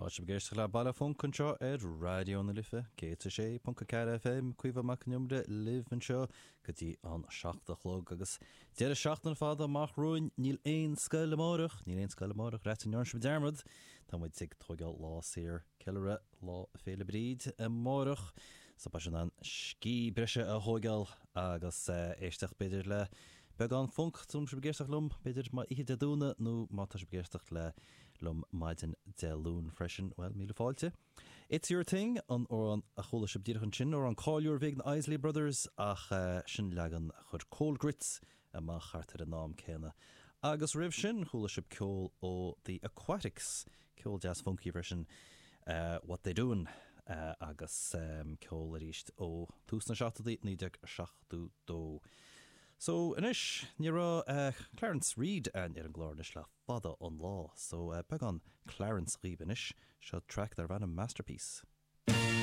Tá sibh ag éisteacht le Baile Func anseo ar Raidió na Life 106.4 FM, Caoimhe Mac Con Iomaire libh anseo go dtí an 7 a chlog agus deireadh seachtaine fada amach romhainn. Níl aon scoil amáireach, níl aon scoil amáireach, raight, an ndearna sibh dearmad? Tá muid ag tóigeáil lá saor ceiliúradh Lá Féile Bríd amáireach so beidh sibh in ann scíth breise a thóigeáil agus éisteacht b'fhéidir le beagán func, tá sibh ag éisteacht liom b'fhéidir má oíche Dé Domhnaigh nó má tá sibh ag éisteacht le liom maidin Dé Luain freisin, bhuel, míle fáilte. It's Your Thing an amhrán a chuala sibh díreach ansin, amhrán cáiliúil a bhí ag na Isley Brothers ach sin leagan a chuir Cold Grits amach thart ar an am céanna. Agus roimh sin chuala sibh ceol ó The Aquatics, ceol deas funky freisin, What They Doin' agus ceol arís ó tús na seachtóidí, 1972. So anois, ní raibh Clarence Reid againn ar an gclár anois le fada an lá, so beagán Clarence dhaoibh anois, seo traic darb ainm Masterpiece.